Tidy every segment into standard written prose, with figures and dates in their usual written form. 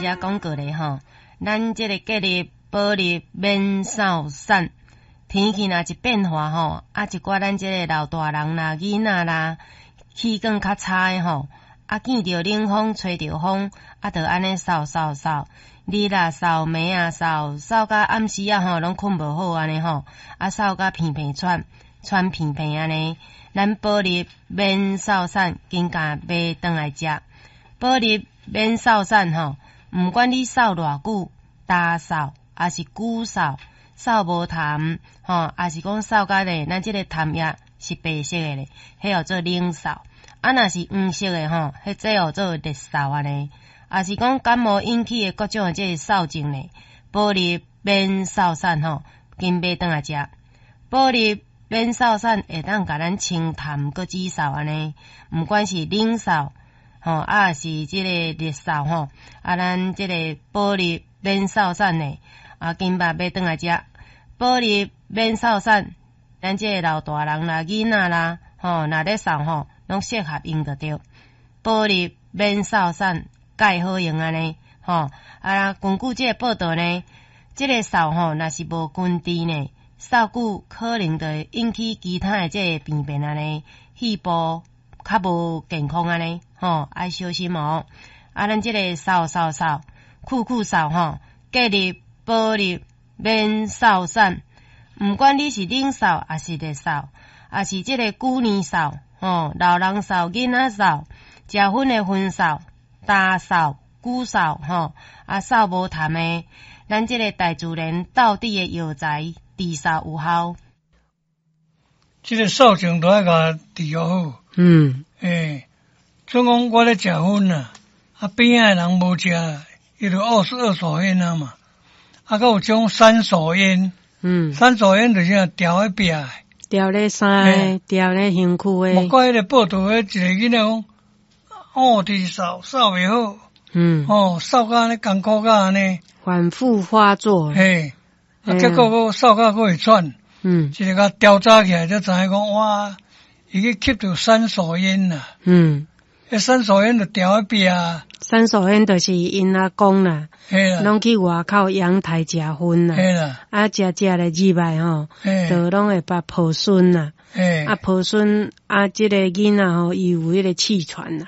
遮講過咧吼，咱這個隔日保入免掃散，天氣若一變化吼，啊一寡咱這個老大人啦、囡仔啦，氣管較差的吼，啊見著冷風、吹著風，啊就按呢嗽嗽嗽，日啊嗽，暝啊嗽，嗽甲暗時仔吼攏睏無好按呢吼，啊嗽甲鼻鼻喘，喘鼻鼻按呢，咱保入免嗽散，緊共買轉來食。保入免嗽散吼，毋管你嗽偌久，焦嗽，抑是久嗽，嗽無痰吼，抑是講嗽甲咧，咱這個痰液是白色的咧，彼號做冷嗽。啊，若是黃色的吼，彼這號做熱嗽按呢。抑是講感冒引起的各種的這個嗽症咧，保入免嗽散吼，緊買轉來食。保入免嗽散會當共咱清痰閣止嗽按呢，毋管是冷嗽吼，啊是這個熱嗽吼，啊咱這個保入免嗽散呢，啊緊捌買轉來食。保入免嗽散，咱這個老大人啦、囡仔啦，吼，若咧嗽吼，攏適合用就對。保入免嗽散，蓋好用按呢，吼，啊根據這個報道呢，這個嗽吼，若是無根治呢，嗽久可能就會引起其他的這個病變按呢，肺部較無健康按呢，吼，愛小心哦。啊，咱這個嗽嗽嗽，久久嗽吼，隔日保入免嗽散，毋管你是冷嗽，抑是熱嗽，抑是這個久年嗽，吼，老人嗽、囡仔嗽，食薰的薰嗽、焦嗽、久嗽，吼，啊嗽無痰的，咱這個大自然道地的藥材治嗽有效。這個嗽症都愛共治好。欸，總講我咧食薰啊，啊邊仔的人無食，伊就二手菸啊嘛。啊，閣有種三手菸。三手菸就是啥，牢佇壁的。牢咧衫，牢咧身軀的。莫怪彼個報道，彼一個囡仔講，哦，直嗽嗽袂好。哦，嗽甲按呢艱苦甲按呢。反覆發作。嘿，啊，結果閣嗽甲閣會喘。一個共調查起來，才知影講，哇，伊去吸著三手菸啦。彼三手菸就牢佇壁啊。三手菸就是𪜶阿公啦，攏去外口陽台食薰啦。啊，食食咧入來吼，就攏會捌抱孫啦。啊，抱孫啊，這個囡仔吼，伊有彼個氣喘啦。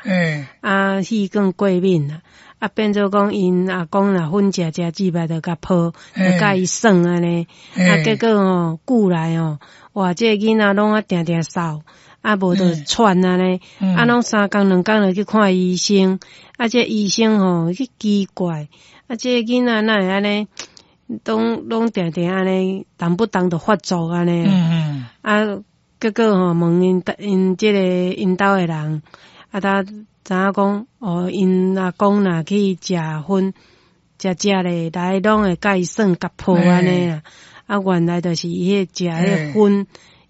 啊，氣管過敏啦。啊，變做講𪜶阿公若薰食食入來就共抱，就共伊耍按呢。啊，結果吼，久來吼，哇，這個囡仔攏啊定定嗽。啊，無就喘按呢，啊，攏三工兩工就去看醫生，啊，這醫生吼去奇怪，啊，這個囡仔哪會按呢，攏攏定定按呢，動不動就發作按呢。啊，結果吼問𪜶𪜶這個𪜶兜的人，啊，才知影講，哦，𪜶阿公若去食薰，食食咧來攏會共伊耍共抱按呢啦。啊，原來就是伊彼食彼薰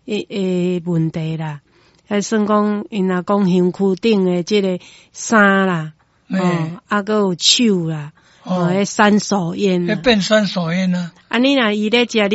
的問題啦。彼算講𪜶阿公身軀頂的這個衫啦，哦，啊，閣有手啦，哦，彼三手菸。彼變三手菸啊！啊，你若伊咧食，你